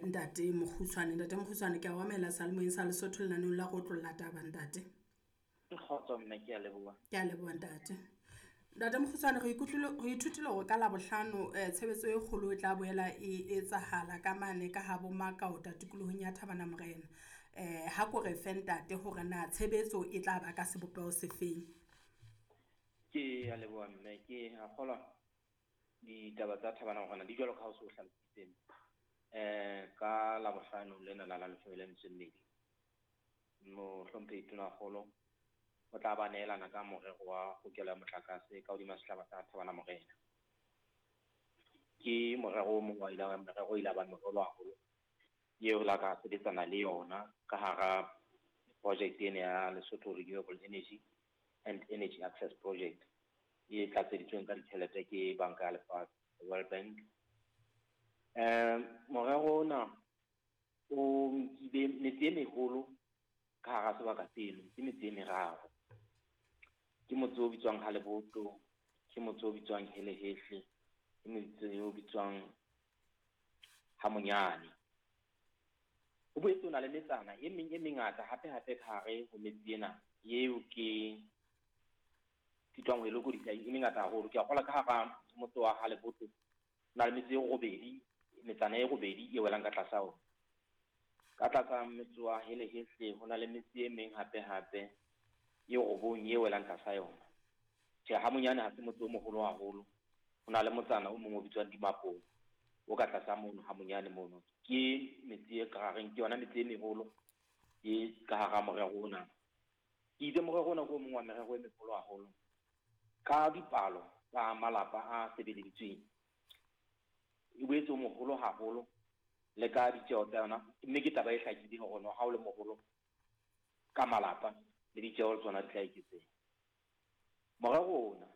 Ntate Mokgutshwane. Ntate Mokgutshwane, ke a o amohela seyalemoyeng sa Lesotho lenaneong la go otlolla taba, ntate. Kgotso mme, ke a leboha. Ke a leboha, ntate. Ntate Mokgutshwane, re ikutlwile, re ithutile hore ka Labohlano tshebetso e kgolo e tla boela e etsahala ka mane ka habo Makaota tikolohong ya Thabana Morena. Ha ko re fe, ntate, hore na tshebetso e tla ba ka sebopeho sefeng. Ke a leboha mme, ke a kgolwa ditaba tsa Thabana Morena di jwalo ka ha o se o hlalositse. Ka Labohlano lena la 12, mohlomphehi Tonakgolo o tla ba neelana ka morero wa hokelo ya motlakase ka hodima sehlaba sa Thabana Morena. Ke morero o mong wa ile merero ile ba meholo haholo eo re la ka sebetsana le yona ka hara project ena ya Lesotho Renewable Energy and Energy Access Project e tlatseditsweng ka ditjhelete ke Banka ya Lefatshe, World Bank. Morero ona o nkile metse e meholo ka hara sebaka seno, ke metse e meraro. Ke motse o bitswang Haleboto, ke motse o bitswang Helehehle, ke motse o bitswang Hamonyane. Ho boetse ho na le metsana e meng e mengata hape hape ka hare ho metse ena eo ke sitwang ho e lokodisa, e mengata haholo. Ke a kgolwa ka hara motse wa Haleboto ho na le metse e robedi, metsana e robedi e welang ka tlasa ona. Ka tlasa motse wa Helehehle ho na le metse e meng hape hape e robong e welang tlasa yona. Tjhe, Hamonyane ha se motse o moholo haholo. Ho na le motsana o mong o bitswang Dimapong o ka tlasa mono Hamonyane mono. Ke metse e ka hareng, ke yona metse e meholo e ka hara morero ona. Ke itse morero ona ke o mong wa merero e meholo haholo ka dipalo tsa malapa a sebeleditsweng. E boetse o moholo haholo le ka ditjeho tsa yona, mme ke taba e hlakileng hore no ha o le moholo ka malapa le ditjeho tsona di tla eketseha. Morero ona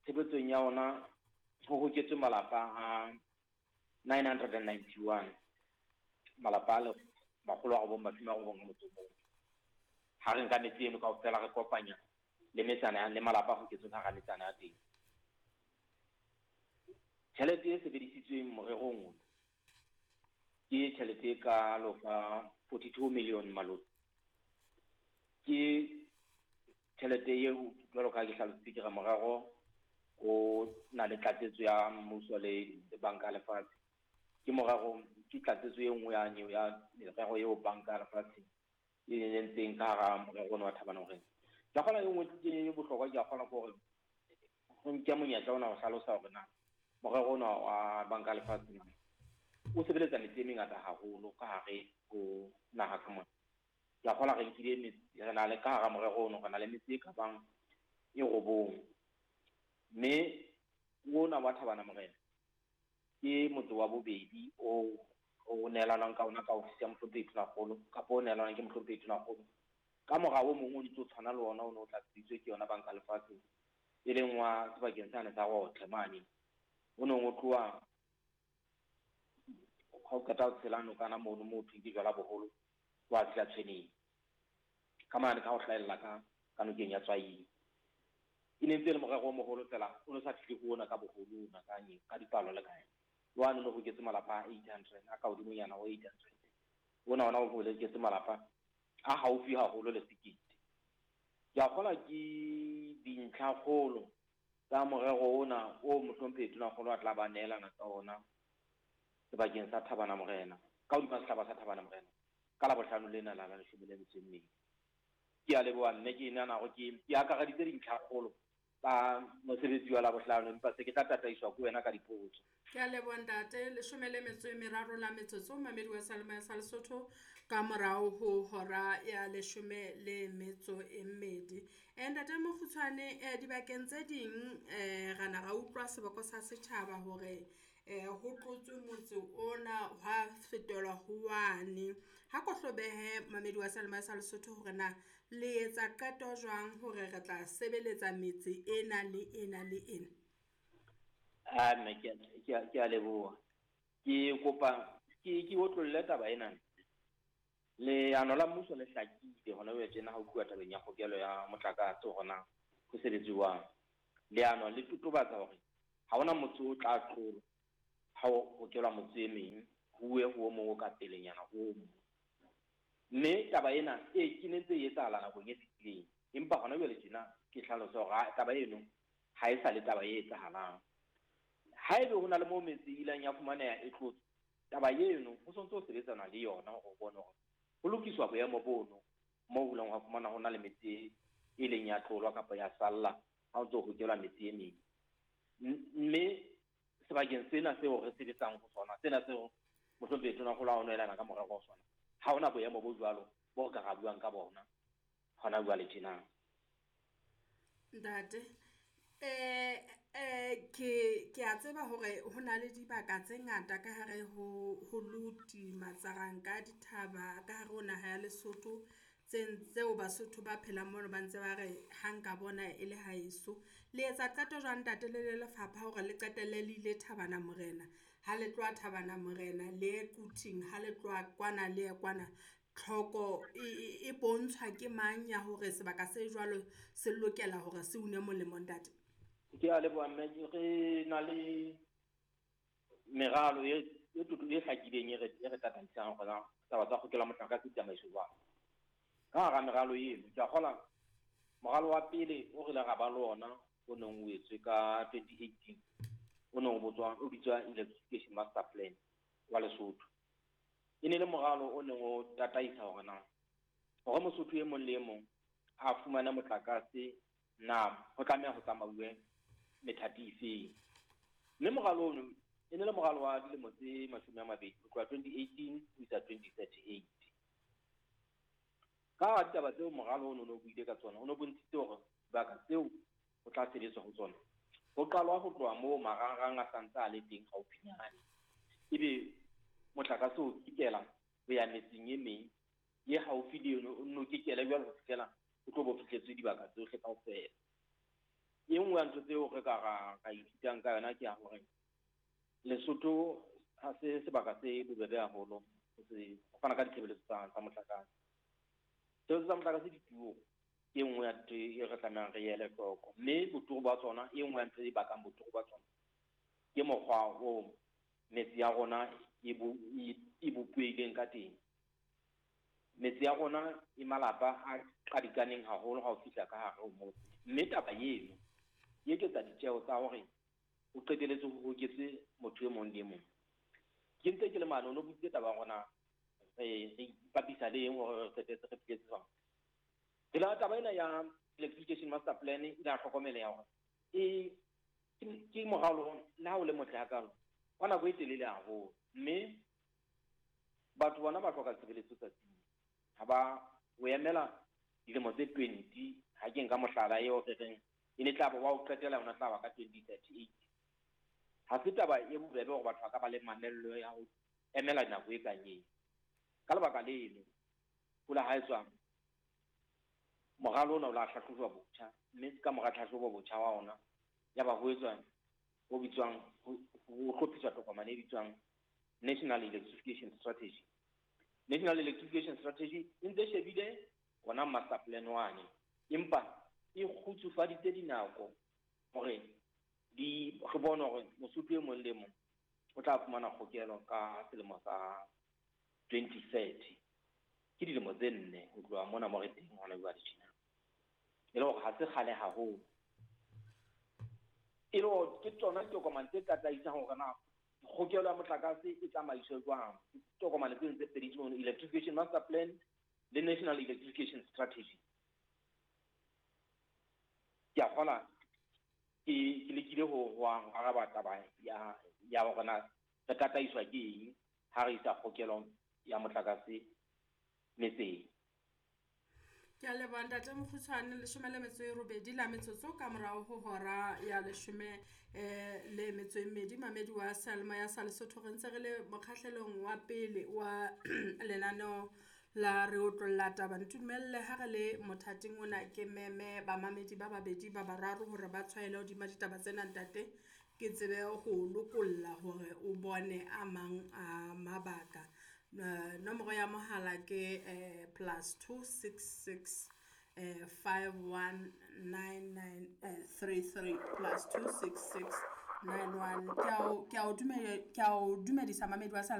tshebetsong ya ona ho hoketswe malapa a 991, malapa a 991. Ha re nka metse eno kaofela re kopanya le metsana le malapa a hoketsweng hara metsana ya teng. Tjhelete e sebedisitsweng morerong ona ke tjhelete e kalo ka 42 million malome. Ke tjhelete eo jwalo ka ha ke hlalositse ke re morero o na le tlatsetso ya mmuso le banka ya lefatshe. Ke morero, ke tlatsetso e nngwe ya ya merero eo banka ya lefatshe e entseng ka hara morero ona wa Thabana Morena. Ke a kgolwa e nngwe e bohlokwa, ke a kgolwa ke hore ho nke monyetla ona ho hlalosa hore na morero ona wa banka ya lefatshe na o sebeletsa metse e mengata haholo ka hare ho naha ka mona. Ke a kgolwa re nkile metse, re na le ka hara morero ono, re na le metse e ka bang e robong. Mme ona wa Thabana Morena ke motse wa bobedi o o neelanang ka ona ka ofisi ya mohlomphehi Tonakgolo, kapa o neelanang ke mohlomphehi Tonakgolo. Ka mora o mong o ntso tshwana le ona o ne o tlatseditswe ke yona banka lefatshe, e leng wa sebakeng sane sa Rotle mane. O neng o tloha ha o qeta ho tshela nokana mono moo thweng ke jwala boholo, wa fihla Tshweneng. Ka mane ka ho hlahella ka nokeng ya Tswaing. E ne ntse e le morero o moholo fela, o no sa fihle ho ona ka boholo ona ka ka dipalo le kae. Wa no hoketse malapa a 800, a ka hodimonyana ho 800. Ona ona o hoketse malapa a haufi haholo le sekete. Ke a kgolwa ke dintlha kgolo tsa morero ona o mohlomphehi Tonakgolo a tla ba neelana ka ona sebakeng sa Thabana Morena, ka hodima sehlaba sa Thabana Morena ka Labohlano lena la 12. Ke a leboha mme, ke nahana hore ke akareditse dintlha kgolo tsa mosebetsi wa Labohlano, empa se ke tla tataiswa ke wena ka dipotso. Ke a leboha ntate. 13 la metsotso, mamedi wa seyalemoya sa Lesotho ka morao ho hora ya 12. Ntate Mokgutshwane, dibakeng tse ding ra na ra utlwa seboko sa setjhaba hore ho tlotswe motse ona hwa fetolwa ho wane. Ha ko hlobehe mamedi wa seyalemoya sa Lesotho hore na le etsa qeto jwang hore re tla sebeletsa metse ena le ena le ena. Ah, mme ke a leboha. Ke kopa ke otlolle taba ena. Leano la mmuso le hlakile hona jwale tjena ha ho tluwa tabeng ya kgokelo ya motlakase hore na ho sebetsuwang. Leano le totobatsa hore ha hona motse o tla tlolwa ha ho hokelwa motse e meng huwe ho o mong o ka pelenyana ho o mong. Mme taba ena e ke ne ntse e etsahala nakong e fetileng, empa hona jwale tjena ke hlalosa hore taba eno ha e sa le taba e etsahalang. Haebe ho na le moo metse e ileng ya fumaneha e tlotswe, taba eno ho sontso ho sebetsana le yona hore o bone hore ho lokiswa boemo bono moo ho ileng hwa fumana ho na le metse e leng ya tlolwa kapa ya salla ha o ntso hokelwa metse e meng. Mme sebakeng sena seo re sebetsang ho sona, sena seo mohlomphehi Tonakgolo a o nehelana ka morero ho sona, ha hona boemo bo jwalo bo re ka ra buang ka bona hona jwale tjena. Ntate, ke a tseba hore ho na le dibaka tse ngata ka hare ho Luti, Matsaranka, dithaba ka hare ho naha ya Lesotho tseo Basotho ba phelang mono ba ntse ba re ha nka bona e le haeso. Le etsa qeto jwang ntate le le lefapha hore le qetelle le ile Thabana Morena, ha le tloha Thabana Morena le ye Quthing, ha le tloha kwana le ye kwana. Tlhoko e bontshwa ke mang ya hore sebaka se jwalo se lokela hore se une molemo ntate? Ke a leboha mme, re na le meralo e hlakileng e re tataisang hore na taba tsa kgokelo ya motlakase di tsamaiswe jwang. Ka hara meralo eno, ke a kgola moralo wa pele o re ile ra ba le ona o neng o etswe ka 2018, o neng o bitswa Electrification Master Plan wa Lesotho. E ne le moralo o neng o tataisa hore na hore Mosotho e mong le e mong a fumane motlakase na ho tlameha ho tsamauwe methati efeng. Mme moralo ono e ne le moralo wa dilemo tse 20 ho tloha 2018 ho isa 2038. Ka ditaba tseo moralo ono o no buile ka tsona, o no bontshitse hore dibaka tseo ho tla sebetswa ho tsona ho qalwa ho tloha moo marangrang a santse a le teng haufinyane, ebe motlakase o kekela ho ya metseng e meng ye haufi le eno, o nno kekele jwalo ho fihlela o tlo bo fihletswe dibaka tsohle kaofela. E nngwe ya ntho tseo re ka ra ithutang ka yona ke ya hore Lesotho ha se sebaka se bobebe haholo ho fana ka ditshebeletso tsa motlakase. Tshebeletso tsa motlakase di turu, ke e nngwe ya ntho e re tlamehang re ele hloko. Mme boturu ba tsona, e nngwe ya ntho e bakang boturu ba tsona ke mokgwa o metse ya rona e bopehileng ka teng. Metse ya rona e malapa a qadikaneng haholo ha o fihla ka hare ho motse. Mme taba eno e eketsa ditjeho tsa hore o qetelletse ho hoketse motho e mong le e mong. Ke ntse ke le mane, o no butsitse taba ya rona re ipapisa le eng hore re qetetse re fihletse jwang. Re la taba ena ya Electrification Master Plan e la hlokomeleha hore e ke moralo le ha o le motle hakalo wa nako e telele haholo, mme batho bona ba hloka tshebeletso tsatsing. Ha ba o emela dilemo tse 20, ha ke nka mohlala eo re reng e ne tla ba wa ho qetela yona tla ba ka 2038. Ha se taba e bobebe hore batho ba ka ba le mamello ya ho emela nako e kang eo. Ka lebaka leno, ho la ha etswa moralo ona o la hlahlojwa botjha, mme ka mora tlhahlobo botjha wa ona ya ba ho etswa ho bitswang ho hlophiswa tokomane e bitswang National Electrification Strategy. National Electrification Strategy e ntse shebile ona master plan wane, empa e kgutsufaditse dinako hore di re bone hore Mosotho e mong le mong o tla fumana kgokelo ka selemo sa 2030. Ke dilemo tse 4 ho tloha mona mo re teng hona jwale tjena. E le hore ha se kgale haholo. E le hore ke tsona ditokomane tse tataisang hore na kgokelo ya motlakase e tsamaiswe jwang. Tokomane tse ntse pedi tseno, Electrification Master Plan le National Electrification Strategy. Ke a kgola ke lekile ho araba taba ya hore na re tataiswa ke eng ha re isa kgokelo ya motlakase metseng. Ke a leboha ntate Mokgutshwane, 18 la metsotso ka morao ho hora ya 12 mamedi wa Seyalemoya sa Lesotho. Re ntse re le mokgahlelong wa pele wa lenaneo la re otlolla taba. Ntumelle ha re le mothating ona ke meme bamamedi ba babedi ba bararo hore ba tshwaele hodima ditaba tsena ntate, ke tsebe ho lokolla hore o bone a mang a mabaka. Nomoro ya mohala ke +266 5199 33 +266 91. Ke a o dumedisa mamedi wa Seyalemoya.